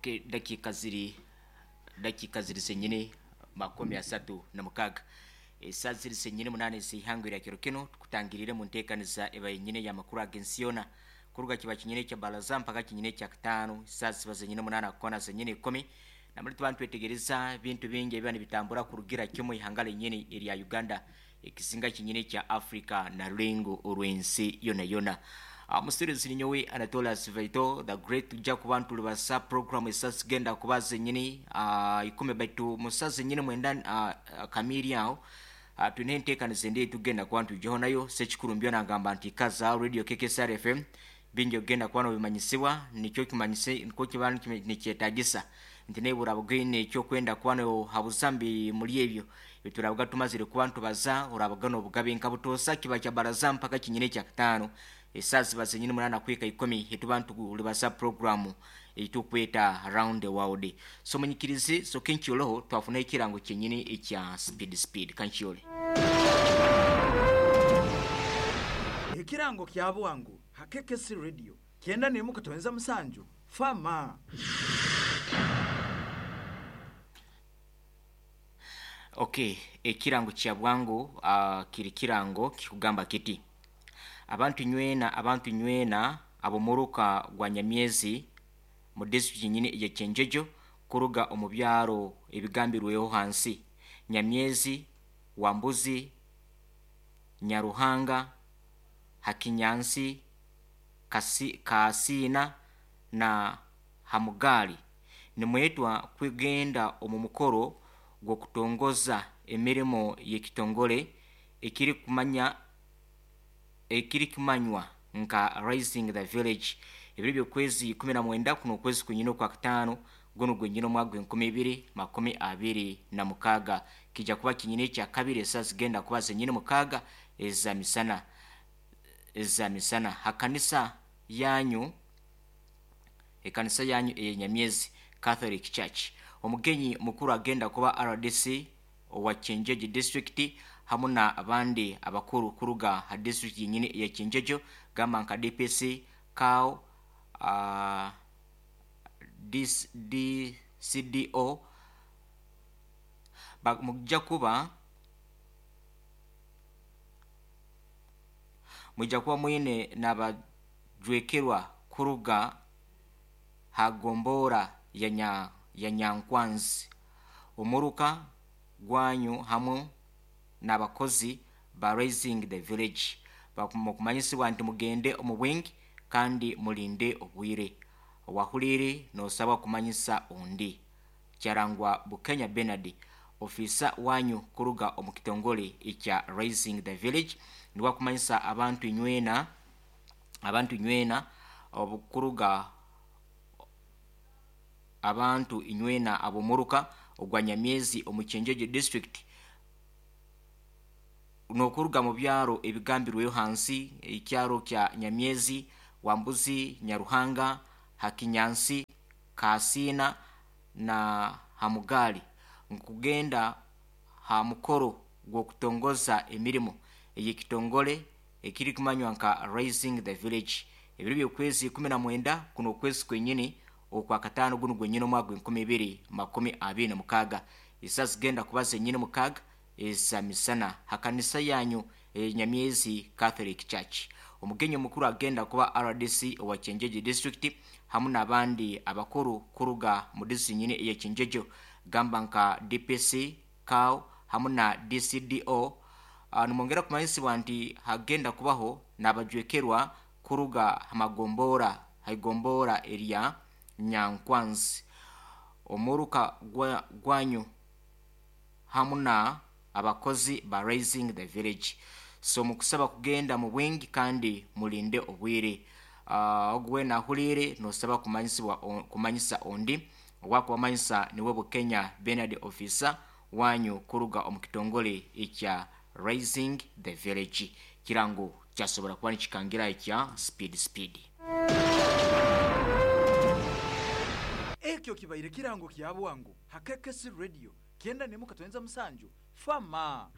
Okay, dakika ziri zenyine 36. Esaa ziri zenyine 8 z'ihangwe lya kiro kino, tukutangirire mu nteekaniza eba yenyine y'amakuru ag'ensi yoona, kuruga kiba kinyine kya baraza mpaka kinyine kya kataano. Saa ziba zenyine 8 kona zenyine 10, namuli tuba nitwetegereza bintu bingi ebiba nibitambura kurugira kimwe ihanga lenyine erya Uganda, ekisinga kinyine kya Africa na rulengo orw'ensi yona yona. Musirizi ninyowe Anatolas Vaito the Great. Tujja kuba ntulibasa program esa zigenda kuba zenyini 10, baitu musa zenyini 9 kamiri aho twine enteekaniza endi tugenda kuba ntwijaho nayo. Sekikuru mbyo nagamba nti kaza Radio KKSR FM, bingi ogenda kuba nobimanyisibwa, nikyo kimanyise nikwo kiba nikyetagisa nti nebura bugine ekyokwenda kuba nohabuza mbi muri ebyo biturabuga tumazire kuba ntubaza, orabuga nobugabe nka butosa kiba kya baraza mpaka kinyine kya kataano. Esaa ziba zenyini 8 kwika 10, etuba ntulibasa programu eitukweta Round the World. So munyikirizi, so kenkyoloho twafuna ekirango kyenyini ekya speed speed kankyole. Ekirango kya bwangu ha KKC Radio 91.7 fama. Okay, ekirango kya bwangu kiri kirango kikugamba kiti: abantu nywena, abantu nywena abomuruka gwa Nyamyezi mu district nyine ya Kyenjojo, kuruga omu byaro ebigambirweho hansi: Nyamyezi, Wambuzi, Nyaruhanga, Hakinyansi, Kasiina na Hamugali, nimwetwa kwegenda omu mukoro gw'okutongoza emirimo y'ekitongole ekirikumanya ekirikumanywa nka Rising the Village, ebiro by'okwezi 19, kuno okwezi kwenyine okwa kataano, guno gwenyine omwaka gw'e 2026. Kijja kuba kinyine ekya kabiri, esaa zigenda kuba zenyine 6 eza misana hakanisa yanyu, ekanisa yanyu eyenyamyezi Catholic Church. Omugenyi mukuru agenda kuba RDC owa Kyenjojo district, hamu na abandi abakuru kuruga ha district yenyini eya Kyenjojo, gamba nka DPC, CAO, DCDO. Mujja kuba mwine n'abajwekerwa kuruga hagombora ya Nyankwanzi, omuruka gwanyu, hamwe n'abakozi ba Rising the Village. Mukumanyisibwa nti mugende omu bwingi kandi mulinde obwire. Owahulire nosabwa kumanyisa ondi. Kyarangwa Bukenya Benard, ofisa wanyu kuruga omu kitongole ekya Rising the Village, niwe akumanyisa abantu inywena, abantu inywena obukuruga, abantu inywena abomuruka ogwa Nyamyezi omu Kyenjojo district, nokuruga mu byaro ebigambirweyo hansi: ekyaro kya Nyamyezi, Wambuzi, Nyaruhanga, Hakinyansi, Kasiina na Hamugali, nkugenda ha mukoro gw'okutongoza emirimo ey'ekitongole ekirikumanywa nka Rising the Village, ebiro by'okwezi 19, kuno okwezi kwenyini okwa kataano, guno gwenyini omwaka gw'e 2026. Esaa zigenda kuba zenyini 6 eza misana hakanisa yanyu enyamyezi Catholic Church. Omugenyi omukuru agenda kuba RDC owa Kyenjojo district, hamu n'abandi abakuru kuruga mu district nyini eya Kyenjojo, gamba nka DPC, CAO hamu na DCDO. Nimwongera kumanyisibwa nti hagenda kubaho n'abajwekerwa kuruga hamagombora, haigombora erya Nyankwanzi, omuruka gwanyu, hamu na abakozi ba Rising the Village. So mukusaba kugenda mu bwingi kandi mulinde obwire. Ogu wena ahulire nosaba kumanyisibwa kumanyisa ondi. Owakubamanyisa niwe Bukenya Benard, officer wanyu kuruga omu kitongole ekya Rising the Village. Kirango kyasobora kuba nikikangira ekya speed speed. Ekyo kibaire kirango kya bwangu ha KKC Radio 91.7 fama.